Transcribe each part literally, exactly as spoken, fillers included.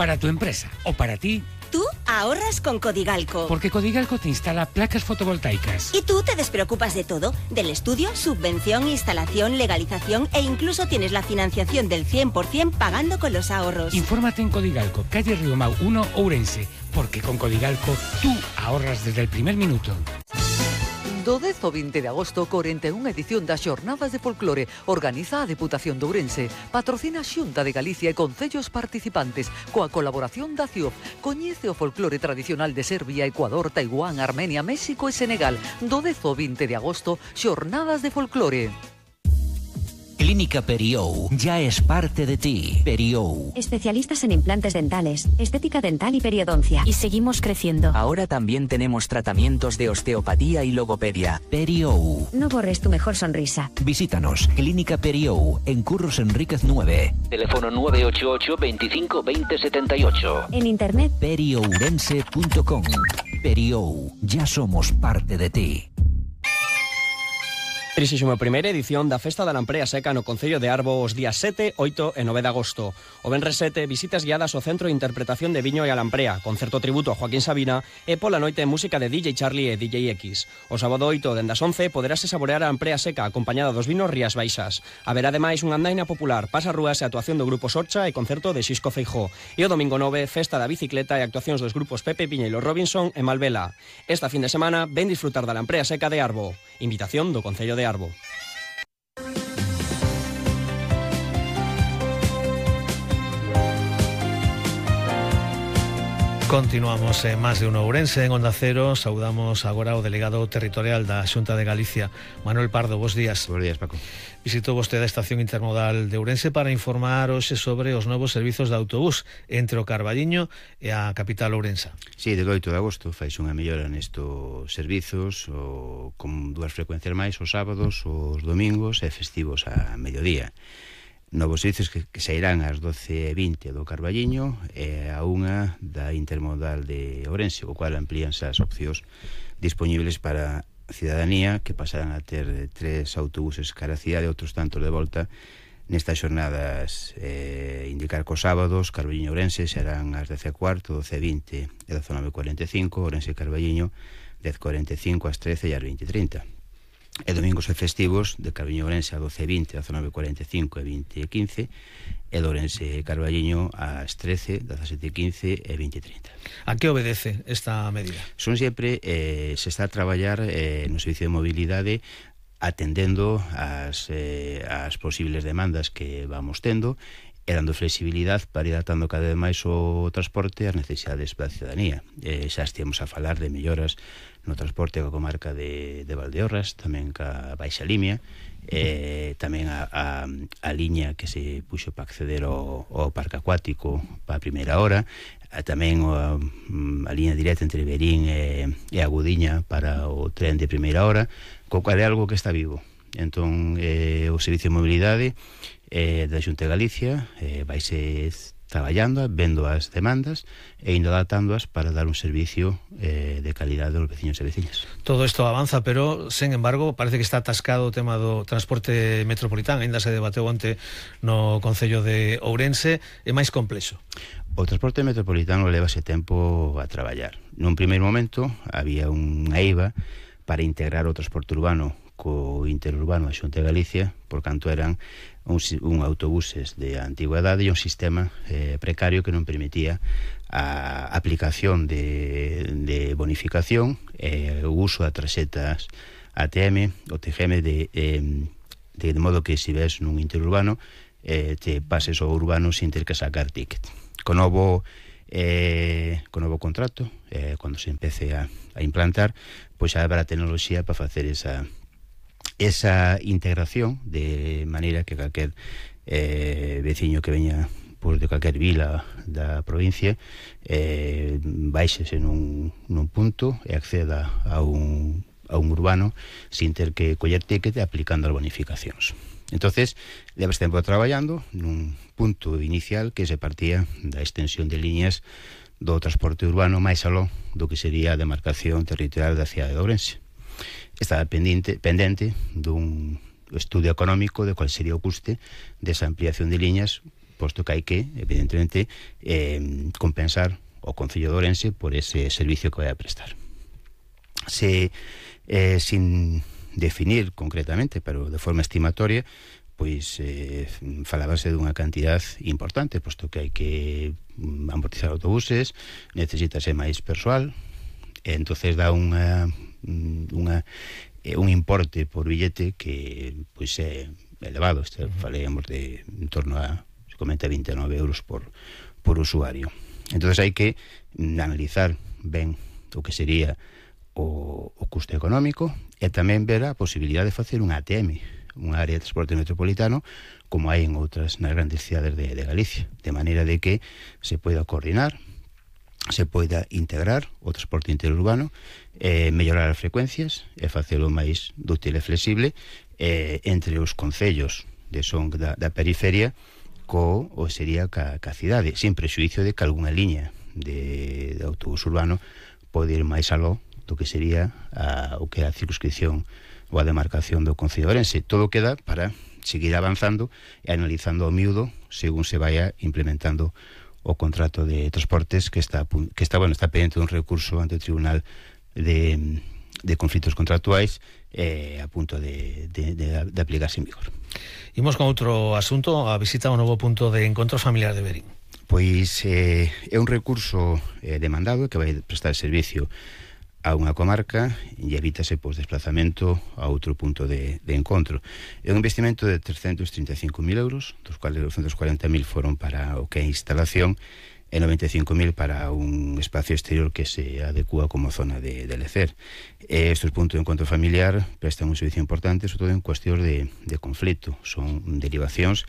para tu empresa o para ti. Tú ahorras con Codigalco. Porque Codigalco te instala placas fotovoltaicas. Y tú te despreocupas de todo, del estudio, subvención, instalación, legalización e incluso tienes la financiación del cien por ciento pagando con los ahorros. Infórmate en Codigalco, calle Riomau uno, Ourense, porque con Codigalco tú ahorras desde el primer minuto. Do dez ao vinte de agosto, cuarenta y una edición das Xornadas de Folclore organiza a Deputación de Ourense, patrocina a Xunta de Galicia e concellos participantes, coa colaboración da C I O F. Coñece o folclore tradicional de Serbia, Ecuador, Taiwán, Armenia, México e Senegal. Do dez ao vinte de agosto, Xornadas de Folclore. Clínica Periou ya es parte de ti. Periou. Especialistas en implantes dentales, estética dental y periodoncia. Y seguimos creciendo. Ahora también tenemos tratamientos de osteopatía y logopedia. Periou. No borres tu mejor sonrisa. Visítanos. Clínica Periou, en Curros Enríquez nueve. Teléfono nueve ocho ocho, veinticinco, veinte, setenta y ocho. En internet. periourense punto com. Periou. Ya somos parte de ti. trinta y primera edición da Festa da Lamprea Seca no Concello de Arbo os días sete, oito e nove de agosto. O venres sete, visitas guiadas ao Centro de Interpretación de Viño e a Lamprea, concerto tributo a Joaquín Sabina e pola noite música de D J Charlie e D J X. O sábado oito, dende as once, poderase saborear a Lamprea Seca acompañada dos vinos Rías Baixas. Haberá ademais unha andaina popular, pasarrúas e actuación do Grupo Sorcha e concerto de Xisco Feijó. E o domingo nove, festa da bicicleta e actuacións dos grupos Pepe Piñeiro Robinson e Malvela. Esta fin de semana, ven disfrutar da Lamprea Seca de Arbo. Invitación do Concello de Arbo. Continuamos en Más de Uno Ourense, en Onda Cero. Saudamos agora o delegado territorial da Xunta de Galicia, Manuel Pardo. Bos días. Bos días, Paco. Visitou vostede a Estación Intermodal de Ourense para informar hoxe sobre os novos servizos de autobús entre o Carballiño e a capital ourensa. Sí, desde o oito de agosto faixe unha mellora nestos servizos, o, con dúas frecuencias máis os sábados, os domingos e festivos a mediodía. Novos servizos que, que sairán ás doce e vinte do Carballiño e a unha da Intermodal de Ourense, o cual amplíanse as opcións disponibles para a cidadanía, que pasarán a ter tres autobuses cara a cidade e outros tantos de volta nestas xornadas. Eh, indicar que os sábados Carballiño Ourense serán ás dez e cuarto, doce e vinte e dezanove e cuarenta e cinco, Ourense Carballiño dez e cuarenta e cinco, ás trece e ás vinte e trinta. E domingos e festivos de Carballiño Ourense a doce e vinte, dezanove e cuarenta e cinco e vinte e quince, e de Ourense Carballiño ás trece, dezasete e quince e vinte e trinta. A que obedece esta medida? Son sempre, eh, se está a traballar eh, no servicio de mobilidade atendendo as, eh, as posibles demandas que vamos tendo e dando flexibilidade para ir adaptando cada vez máis o transporte ás necesidades da cidadanía. Eh, xa estíamos a falar de melloras no transporte coa comarca de, de Valdeorras, tamén ca Baixa Limia, eh, tamén a, a, a liña que se puxo para acceder ao, ao parque acuático para a primeira hora, a, tamén a, a liña directa entre Berín e, e Agudiña para o tren de primeira hora, co cual é algo que está vivo. Entón, eh, o Servicio de Mobilidade eh, da Xunta de Galicia eh, vaise traballando, vendo as demandas e indo adaptándoas para dar un servicio eh, de calidade aos veciños e veciñas. Todo isto avanza, pero, sen embargo, parece que está atascado o tema do transporte metropolitano. Ainda se debateu onte no Concello de Ourense, é máis complexo. O transporte metropolitano levase tempo a traballar. Nun primeiro momento había unha eiva para integrar o transporte urbano co interurbano da Xunta de Galicia, por canto eran un, un autobuses de antigüedade e un sistema eh, precario que non permitía a aplicación de, de bonificación e eh, o uso de tarxetas A T M ou T G M de, eh, de, de modo que se ves nun interurbano eh, te pases ao urbano sin ter que sacar ticket. Con novo eh, con novo contrato, eh, cando se empece a, a implantar, pois xa habrá tecnoloxía para facer esa esa integración de maneira que calquer eh, veciño que veña pues, de calquer vila da provincia eh, baixese nun, nun punto e acceda a un, a un urbano sin ter que coller ticket aplicando as bonificacións. Entonces, levas tempo traballando nun punto inicial que se partía da extensión de liñas do transporte urbano máis aló do que sería a demarcación territorial da cidade de Ourense. Estaba pendente, pendente dun estudio económico de cual sería o custe desa ampliación de liñas posto que hai que, evidentemente, eh, compensar o Concello de Ourense por ese servicio que vai a prestar. Se, eh, sin definir concretamente, pero de forma estimatoria, pois eh, falábase dunha cantidad importante, posto que hai que amortizar autobuses, necesítase máis persoal, e entonces dá unha, unha un importe por billete que pois é elevado. Este, falemos de en torno a, se comenta, vinte e nove euros por, por usuario. Entonces hai que analizar ben o que sería o, o custo económico e tamén ver a posibilidade de facer un A T M, unha área de transporte metropolitano, como hai en outras nas grandes cidades de, de Galicia, de maneira de que se poida coordinar, se poida integrar o transporte interurbano, eh, mellorar as frecuencias e facelo máis dúctil e flexible eh, entre os concellos de son da, da periferia co o sería ca, ca cidade, sin prexuicio de que algunha liña de, de autobús urbano pode ir máis aló do que sería a, o que é a circunscripción ou a demarcación do Concello de Ourense. Todo queda para seguir avanzando e analizando ao miúdo según se vaya implementando o contrato de transportes que está que está bueno, está pendiente dun recurso ante o Tribunal de, de conflitos contractuais eh, a punto de, de, de, de aplicarse en vigor. Imos con outro asunto, a visita ao novo punto de encontro familiar de Verín. Pois eh, é un recurso eh, demandado que vai prestar servicio a unha comarca e evítase pois, desplazamento a outro punto de, de encontro. É un investimento de trescentos trinta e cinco mil euros, dos cuales doscientos cuarenta mil foron para o que é instalación e noventa e cinco mil para un espacio exterior que se adecúa como zona de, de lecer. E estes puntos de encontro familiar prestan un servicio importante, sobre todo en cuestión de, de conflito. Son derivacións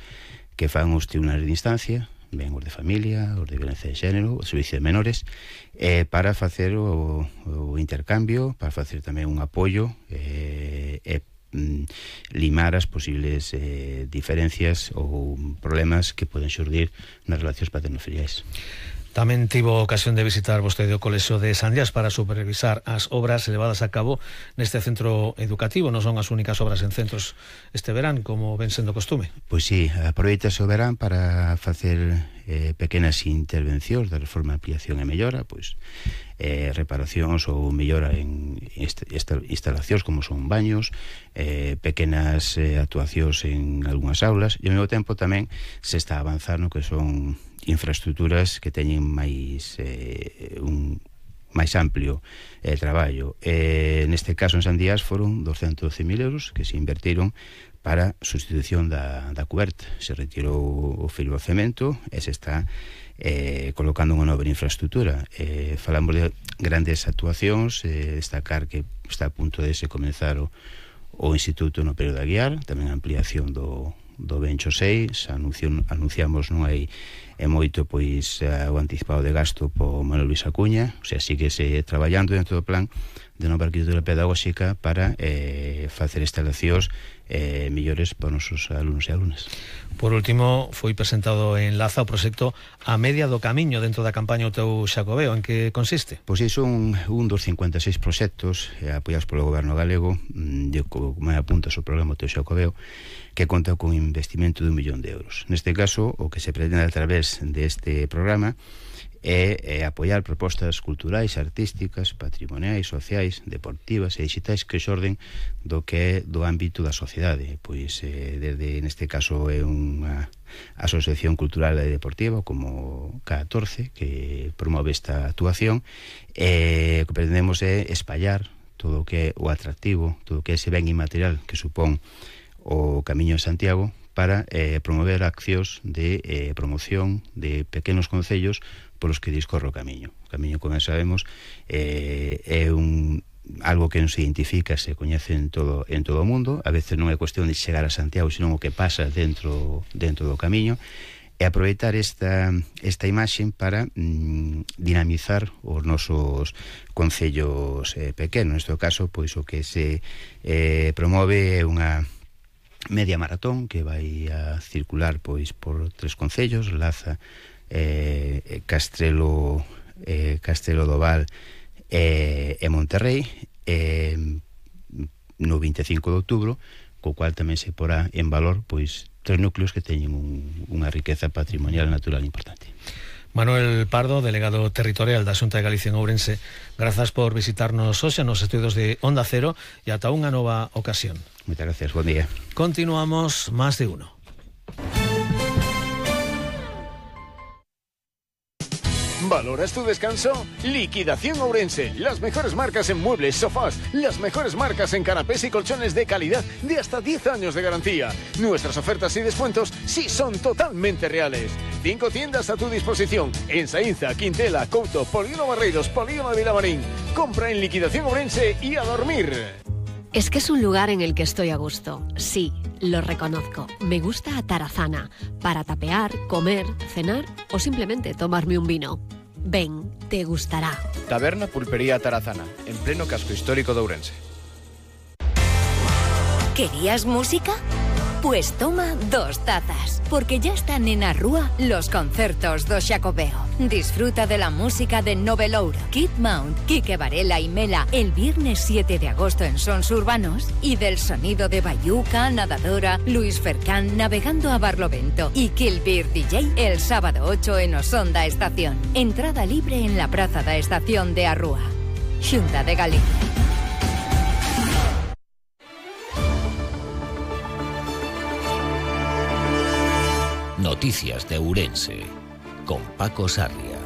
que fan os tribunales de instancia, ben os de familia, os de violencia de xénero, o servicio de menores, eh, para facer o, o intercambio, para facer tamén un apoio e eh, eh, limar as posibles eh, diferencias ou problemas que poden xurdir nas relacións paterno-filiais. Tamén tivo ocasión de visitar vostede o Colexio de Sandiás para supervisar as obras levadas a cabo neste centro educativo. Non son as únicas obras en centros este verán, como ven sendo costume. Pois sí, aproveitase o verán para facer eh, pequenas intervencións de reforma, ampliación e mellora, pois eh, reparacións ou mellora en est est instalacións como son baños, eh, pequenas eh, actuacións en algunhas aulas, e ao mesmo tempo tamén se está a avanzar no que son infraestructuras que teñen máis eh, un máis amplio eh, traballo. Eh, neste caso en Sandiás foron doscientos doce mil euros que se invertiron para sustitución da, da cuberta. Se retirou o filo de cemento e se está eh, colocando unha nova infraestructura. Eh, falamos de grandes actuacións, eh, destacar que está a punto de se comenzar o, o Instituto no Perio de Aguiar, tamén a ampliación do do Bencho seis, anuncion, anunciamos non hai é moito pois o anticipado de gasto po Manuel Luis Acuña, o sea, sigue se traballando dentro do plan de nova arquitectura pedagóxica para eh, facer instalacións eh, millores para os nosos alumnos e alumnas. Por último, foi presentado en Laza o proxecto A Media do Camiño dentro da campaña O Teu Xacobeo. En que consiste? Pois iso un, un dos cincuenta e seis proxectos eh, apoiados polo goberno galego, de, como me apunta o programa O Teu Xacobeo, que conta con un investimento de un millón de euros. Neste caso, o que se pretende a través deste programa é, é apoiar propostas culturais, artísticas, patrimoniais, sociais, deportivas e digitais que xorden do que é do ámbito da sociedade. Pois, eh, desde, neste caso, é unha asociación cultural e deportiva como K catorce que promove esta actuación, e o que pretendemos é espallar todo o que é o atractivo, todo o que é ese ben inmaterial que supón o Camiño de Santiago, para eh, promover accións de eh, promoción de pequenos concellos polos que discorre o Camiño. O Camiño, como sabemos, eh, é un algo que non se identifica, se coñece en todo en todo o mundo. A veces non é cuestión de chegar a Santiago, senón o que pasa dentro dentro do Camiño, e aproveitar esta esta imaxe para mm, dinamizar os nosos concellos eh, pequenos. Neste caso, pois o que se eh, promove é unha media maratón que vai a circular pois por tres concellos, Laza, eh, Castrelo, eh, Castrelo do Val e, e Monterrei, eh, no vinte e cinco de outubro, co cual tamén se porá en valor pois tres núcleos que teñen un, unha riqueza patrimonial e natural importante. Manuel Pardo, delegado territorial da Xunta de Galicia en Ourense, grazas por visitarnos hoxe nos estudios de Onda Cero e ata unha nova ocasión. Moitas gracias, buen día. Continuamos Más de Uno. ¿Valoras tu descanso? Liquidación Ourense. Las mejores marcas en muebles, sofás, las mejores marcas en canapés y colchones de calidad de hasta diez años de garantía. Nuestras ofertas y descuentos sí son totalmente reales. Cinco tiendas a tu disposición en Saínza, Quintela, Couto, Polígono Barreiros, Polígono de Vilamarín. Compra en Liquidación Ourense y a dormir. Es que es un lugar en el que estoy a gusto. Sí, lo reconozco. Me gusta Atarazana para tapear, comer, cenar o simplemente tomarme un vino. Ven, te gustará. Taberna Pulpería Atarazana, en pleno casco histórico de Ourense. ¿Querías música? Pues toma dos tazas, porque ya están en a Rúa los concertos do Xacobeo. Disfruta de la música de Novelouro, Kid Mount, Quique Varela y Mela el viernes siete de agosto en Sons Urbanos y del sonido de Bayuca, Nadadora, Luis Fercán navegando a Barlovento y Kill Beer D J el sábado ocho en Osonda Estación. Entrada libre en la Praza da Estación de a Rúa. Xunta de Galicia. Noticias de Ourense, con Paco Sarria.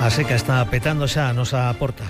A seca está petando xa a nosa porta.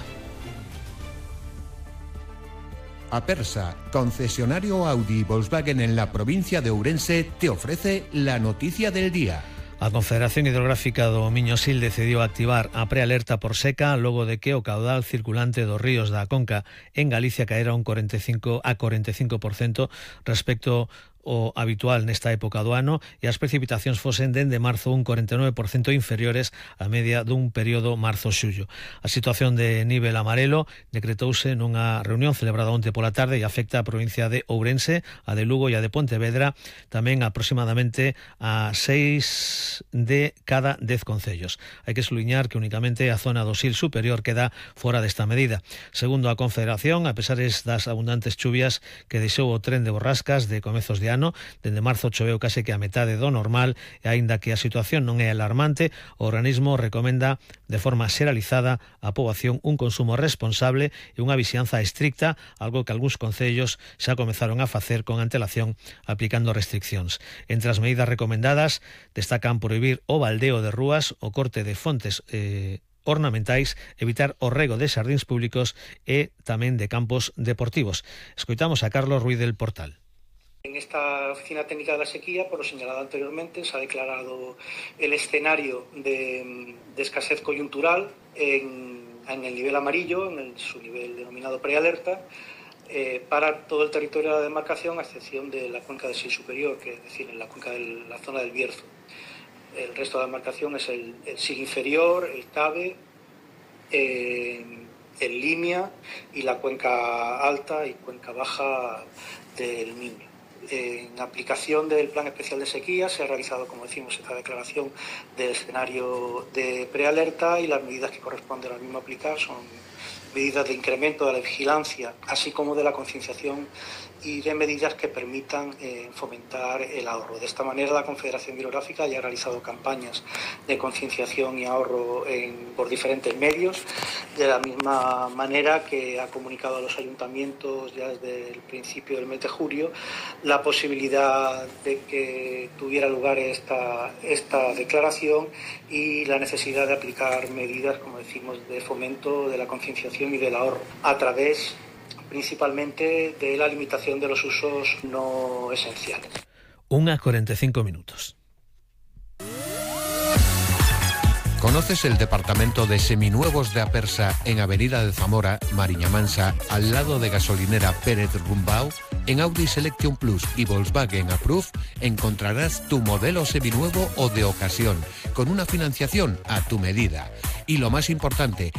Apersa, concesionario Audi y Volkswagen en la provincia de Ourense, te ofrece la noticia del día. A Confederación Hidrográfica do Miño-Sil decidiu activar a prealerta por seca logo de que o caudal circulante dos ríos da Conca en Galicia caera un cuarenta e cinco a cuarenta e cinco por ciento respecto o habitual nesta época do ano e as precipitacións fosen dende marzo un cuarenta e nove por ciento inferiores á media dun período marzo-xullo. A situación de nivel amarelo decretouse nunha reunión celebrada onte pola tarde e afecta a provincia de Ourense, a de Lugo e a de Pontevedra, tamén aproximadamente a seis de cada dez concellos. Hai que suliñar que únicamente a zona do Sil superior queda fora desta medida. Segundo a Confederación, a pesar das abundantes chuvias que deixou o tren de borrascas de comezos de ano, dende marzo choveu case que a metade do normal e aínda que a situación non é alarmante, o organismo recomenda de forma xeralizada á poboación un consumo responsable e unha vixianza estricta, algo que algúns concellos xa comezaron a facer con antelación aplicando restriccións. Entre as medidas recomendadas destacan prohibir o baldeo de rúas, o corte de fontes eh, ornamentais, evitar o rego de xardíns públicos e tamén de campos deportivos. Escoitamos a Carlos Ruiz del Portal. En esta Oficina Técnica de la Sequía, por lo señalado anteriormente, se ha declarado el escenario de, de escasez coyuntural en, en el nivel amarillo, en el, su nivel denominado prealerta, eh, para todo el territorio de la demarcación, a excepción de la cuenca del Sil Superior, que es decir, en la cuenca de la zona del Bierzo. El resto de la demarcación es el, el Sil Inferior, el Cabe, eh, el Limia y la cuenca alta y cuenca baja del Miño. En aplicación del Plan Especial de Sequía se ha realizado, como decimos, esta declaración del escenario de prealerta y las medidas que corresponden al mismo aplicar son medidas de incremento de la vigilancia, así como de la concienciación y de medidas que permitan eh, fomentar el ahorro. De esta manera, la Confederación Hidrográfica ya ha realizado campañas de concienciación y ahorro en, por diferentes medios, de la misma manera que ha comunicado a los ayuntamientos ya desde el principio del mes de julio la posibilidad de que tuviera lugar esta, esta declaración y la necesidad de aplicar medidas, como decimos, de fomento de la concienciación y del ahorro a través principalmente de la limitación de los usos no esenciales. Una cuarenta y cinco minutos. ¿Conoces el departamento de seminuevos de Apersa en Avenida de Zamora, Mariña Mansa, al lado de gasolinera Pérez Rumbao? En Audi Selection Plus y Volkswagen Approve encontrarás tu modelo seminuevo o de ocasión, con una financiación a tu medida. Y lo más importante,